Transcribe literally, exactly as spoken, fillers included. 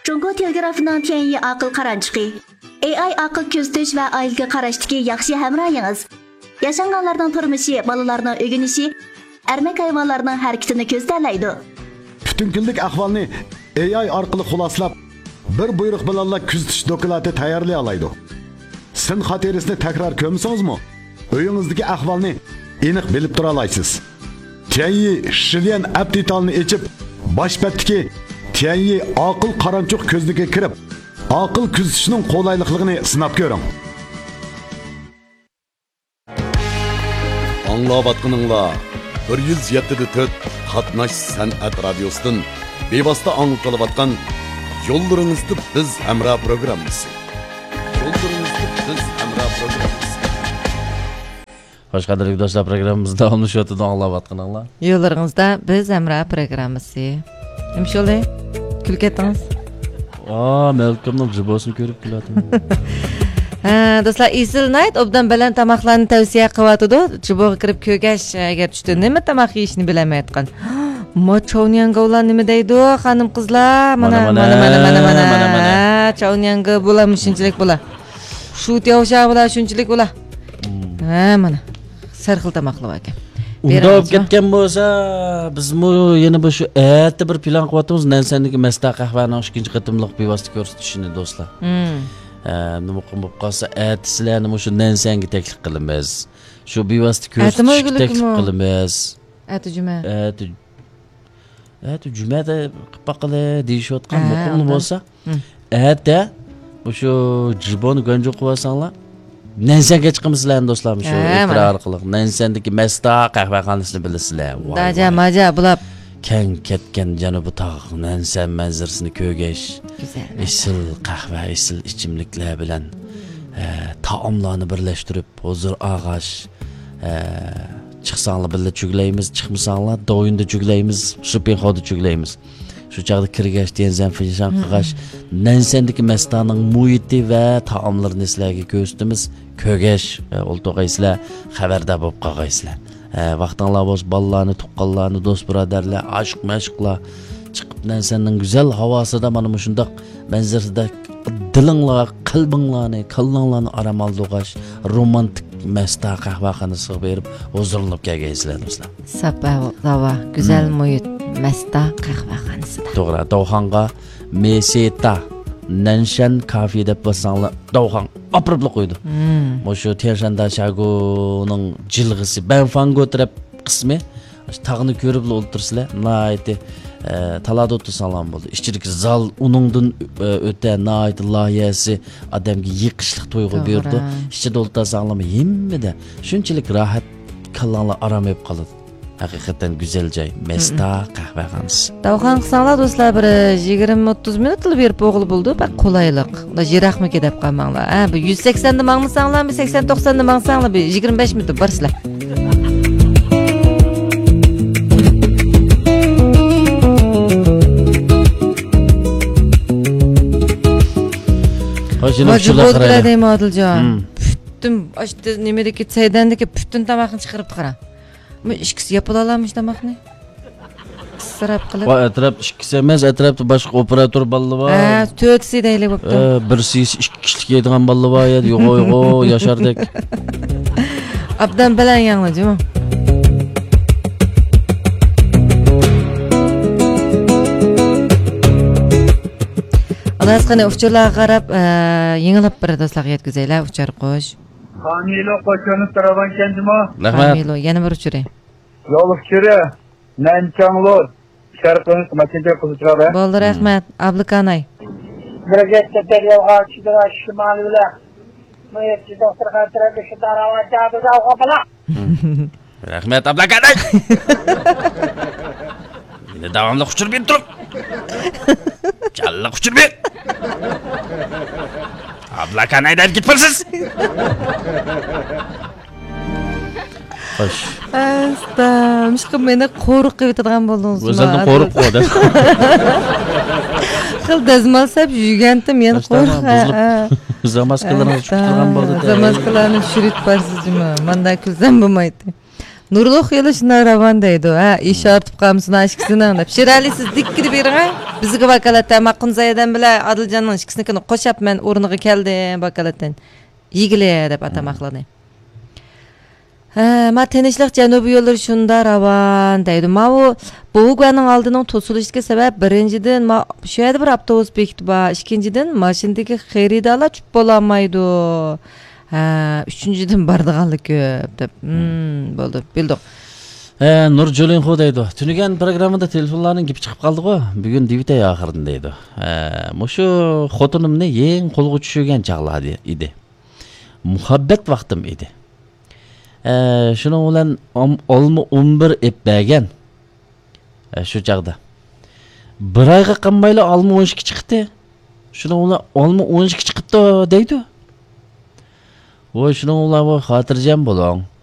جۇڭگو تېلېگرافىنىڭ تيەنيى ئاقىل قارانچۇقى. ئېي ئاي ئاقىل كۆزىتىش ۋە ئائىلىگە قاراشتىكى ياخشى ھەمراھىڭىز. ياشانغانلارنىڭ تۇرمۇشى، بالىلارنىڭ ئۆگىنىشى، ئەرمەك ھايۋانلارنىڭ ھەرىكىتىنى كۆزىتەلەيدۇ. پۈتۈن كۈنلۈك ئەھۋالنى ئېي ئاي ئارقىلىق خۇلاسىلاپ، بىر بۇيرۇق بىلەنلا كۆزىتىش دوكلاتى تەييارلىيالايدۇ. سىن خاتىرىسىنى تەكرار كۆرمىسىڭىزمۇ، ئۆيىڭىزدىكى ئەھۋالنى ئېنىق بىلىپ تۇرالايسىز. تيەنيى شىليەن ئەپ دېتالىنى ئېچىپ، باش بەتتىكى تيەنيى ئاقىل قارانچۇق كۆزنىكىگە كىرىپ، ئاقىل كۆزىتىشنىڭ قولايلىقلىقىنى سىناپ كۆرۈڭ. ئاڭلاۋاتقىنىڭلار بىر يۈز يەتتە دە تۆت قاتناش سەنئەت رادىيوسىدىن بىۋاسىتە ئاڭلىتىلىۋاتقان يوللىرىڭىزدا بىز ھەمراھ پروگراممىسى. يوللىرىڭىزدا بىز ھەمراھ پروگراممىسى. خوش، قەدىرلىك دوستلار، پروگراممىمىز داۋاملىشىۋاتىدۇ، ئاڭلاۋاتقىنىڭلار. يوللىرىڭىزدا بىز ھەمراھ پروگراممىسى. نېمە شولى؟ كۈلۈپ كەتتىڭىز؟ ئا، مەلكەمنىڭ جىبوسىنى كۆرۈپ كۈلۈۋاتىمەن. ھە، دوستلار، ئېسىل نايت ئوبدان بەلەن تاماقلارنى تەۋسىيە قىلىۋاتىدۇ. جىبوغا كىرىپ كۆرگەچ، ئەگەر چۈشتە نېمە تاماق يېيىشنى بىلەلمەيۋاتقان. ما چاۋنياڭگوۋلار نېمە دەيدۇ، خانىم قىزلار؟ مانا، مانا، مانا، مانا، مانا، مانا، مانا، مانا. مانا. ھە، چاۋنياڭگو بۇلار، مۇشۇنچىلىك بۇلار. شۇ تياۋشا بۇلار، شۇنچىلىك بۇلار. مم. ھە، مانا. سەرخىل تاماقلار باركەن. ئۇنداق بولۇپ كەتكەن بولسا، بىزمۇ يەنە بىر شۇ ئەتە بىر پىلان قىلىۋاتىمىز. نەنسەندىكى مەستا قەھۋەنىڭ ئىككىنچى قېتىملىق بىۋاسىتە كۆرسىتىشىنى، دوستلار. مم. ئە، نېمە قىلىپ بولۇپ قالسا، ئەتىسىلەرنى مۇشۇ نەنسەنگە تەكلىپ قىلىمىز. شۇ بىۋاسىتە ئەتىمۇ كۆرسىتىشكە تەكلىپ قىلىمىز. ئەتە جۈمە. ئەتە، ئەتە جۈمەدە قىلىپ باققىلى دېيىشىۋاتقان ھە، مۇقىملا ئۇنداق. بولسا. مم. ئەتە مۇشۇ جىبونى گۇەنجۇ قىلىۋالساڭلار، نەنسەنگە چىقىمىز سىلەرنى، دوستلار، مۇشۇ ھە، ئېكران مانا. ئارقىلىق. نەنسەندىكى مەستا قەھۋەخانىسىنى بىلىسىلەر. ۋاي، داجا ۋاي. ماجا بۇلاپ. كەڭ كەتكەن جەنۇبىي تاغ نەنسەن مەنزىرىسىنى كۆرگەچ، گۈزەل مەنزىرە. ئېسىل قەھۋە، ئېسىل ئىچىملىكلەر بىلەن، ئە، تائاملارنى بىرلەشتۈرۈپ، ھۇزۇر ئاغاچ، ئە، چىقساڭلار بىللە چۈگلەيمىز، چىقمىساڭلار دوۋيۈندە چۈگلەيمىز، شۇپىڭخودا چۈگلەيمىز. شۇ چاغدا كىرگەچ، تيەنزەن فېنشان قىلغاچ، نەنسەندىكى مەستانىڭ مۇھىتى ۋە تائاملىرىنى سىلەرگە كۆرسىتىمىز. كۆرگەچ، ئولتۇرغايسىلەر، خەۋەردار بولۇپ قالغايسىلەر. ۋاقتىڭلار بولسا، بالىلارنى، تۇغقانلارنى، دوست بۇرادەرلەر، ئاشىق مەشۇقلار چىقىپ، نەنسەننىڭ گۈزەل ھاۋاسىدا مانا مۇشۇنداق مەنزىرىسىدە دىلىڭلار، قەلبىڭلارنى، كاللاڭلارنى ئارام ئالدۇرغاچ، رومانتىك مەستا قەھۋەخانىسىغا بېرىپ ھۇزۇرلىنىپ كەلگەيسىلەر، دوستلار. ساپ ھاۋا، گۈزەل مۇھىت، مەستا قەھۋەخانىسىدا. توغرا، داۋخاڭغا مېسېتا نەنشەن كافې دەپ باسساڭلار، داۋخاڭ ئاپىرىپلا قويىدۇ. مۇشۇ تيەنشاندا شاگۇنىڭ جىلغىسى، بەنفاڭگو تەرەپ قىسمى، تاغنى كۆرۈپلا ئولتۇرسىلەر، ناھايىتى، ئە، تالادا ئولتۇرساڭلارمۇ بولىدۇ. ئىچىدىكى زال، ئۇنىڭدىن، ئە، ئۆتە ناھايىتى لايىھەسى ئادەمگە يېقىشلىق تۇيغۇ بېرىدۇ. توغرا. ئىچىدە ئولتۇرساڭلارمۇ ھەممىدە شۇنچىلىك راھەت، كاللاڭلار ئارام ئېلىپ قالىدۇ. ھەقىقەتەن گۈزەل جاي، مەستا قەھۋەخانىسى. داۋخان قىلساڭلار، دوستلار، بىر يىگىرمە ئوتتۇز مىنۇتلا بېرىپ بولغىلى بولىدۇ، بەك قولايلىق. ئۇنداق يىراقمىكىن دەپ قالماڭلار. ھە، بىر يۈز سەكسەندە ماڭمىساڭلارمۇ، سەكسەن توقساندا ماڭساڭلار، بىر يىگىرمە بەش مىنۇتتا بارىسىلەر. خوش، ماجبۇر قارايلى. دەيمەن، ئادىلجان. پۈتۈن، ئاشتى، نېمىدىكى، سەيدەندىكى پۈتۈن تاماقنى چىقىرىپتۇ، قارا. مۇ ئىككىسى ياپىلالامىش تاماقنى. ئىسراپ قىلىپ. ۋاي، ئەتراپ ئىككىسى ئەمەس، ئەتراپتا باشقا ئوپېراتور بالىلار بار. ھە، تۆتىسى دەيلى بوپتۇ. ئە، بىرسى يېسە ئىككى كىشىلىك يەيدىغان بالىلار بار يا، يوغۇ، يوغۇ، ياشاردەك. ئابدان بەلەن يەڭلى جۇمۇ. ئالاسقىنى ئۇچۇرلارغا قاراپ، ئە، يېڭىلاپ بىر دوستلارغا يەتكۈزەيلى، ئۇچار قوش. خامىلو قوشۇنى تۇرىدىغان ئىكەن جۇمۇ. رەھمەت. خامىلو، يەنە بىر ئۇچۇرى. يول ئۇچۇرى. نەنچاڭلۇ شەرقىي ماشىنىچى قىزىچىلار بىلەن. بولدى، رەھمەت. ئابلىكاناي. بىر گەپتە دەريالغا چۈشىدىغان شىمالىي بىلەن مۇھىتچى دوختۇرخانا تەرەپلىك شۇنداق راۋان چاغدۇردا ئالغان بالا. رەھمەت، ئابلىكاناي. مېنى داۋاملىق ئۇچۇر بېرىپ تۇرۇڭ. جانلىق ئۇچۇر بېرىڭ. ئابلىكاناي دەپ كېتىپ قالىسىز. خوش. ئەستا، مۇشۇقا مېنى قورۇق قىلىۋېتىدىغان بولدىڭىز. ئۆزۈمدىن قورۇق قىلىۋاتىدۇ. خېلى دەزمال سەپ يۈگەنتىم، يەنە قوش. بۇزۇلۇپ، زاماسكىلىرىڭىز چۈشۈپ تۇرغان بولدى. زاماسكىلارنى چۈشۈرۈپ بارسىز جۇمۇ. ماندا كۈلسەم بولمايتتى. نۇرلۇق يولى شۇنداق راۋان دەيدۇ. ھە، ئىش ئارتىپ قالمىسۇن ھە ئىككىسىنىڭ دەپ. شېرئەلى، سىز دىككىدە بېرىڭ ھە. بىزگە ۋاكالەتتە ماقۇن زايەدەم بىلەن ئادىلجاننىڭ ئىككىسىنىڭكىنى قوشاپ مەن ئورنىغا كەلدىم ۋاكالەتتىن. يېگىلى دەپ ئاتاماقلىنى. ھە، ما تىنچلىق جەنۇبىي يوللىرى شۇندا راۋان دەيدۇ. ماۋۇ بوۋۇگۇەننىڭ ئالدىنىڭ توسۇلۇشىدىكى سەۋەب، بىرىنچىدىن، ما شۇ يەردە بىر ئاپتوبۇس بېكىتى بار. ئىككىنچىدىن، ماشىنىدىكى خېرىدارلار چۈشۈپ بولالمايدۇ. ھە، ئۈچىنچىدىن، بارىدىغانلار كۆپ دەپ. ھىم، بولدى، بىلدۇق. ھە، نۇر جۇلىنخۇ دەيدۇ. تۈنۈگۈن پروگراممىدا تېلېفونلارنىڭ گېپى چىقىپ قالدىغۇ. بۈگۈن دېۋىتەي ئاخىرىدا دەيدۇ. ھە، مۇشۇ خوتۇنۇمنى يېڭى قولغا چۈشۈرگەن چاغلار ئىدى. مۇھەببەت ۋاقتىم ئىدى. ئە، شۇنىڭ بىلەن ئام-، ئالما ئون بىر ئېپ بەرگەن. ئە، شۇ چاغدا. بىر ئايغا قالمايلا ئالما ئون ئىككى چىقتى. شۇنىڭ بىلەن ئالما ئون ئىككى چىقىپتۇ دەيدۇ. ۋوي، شۇنىڭ بىلەن ۋوي، خاتىرجەم بولۇڭ.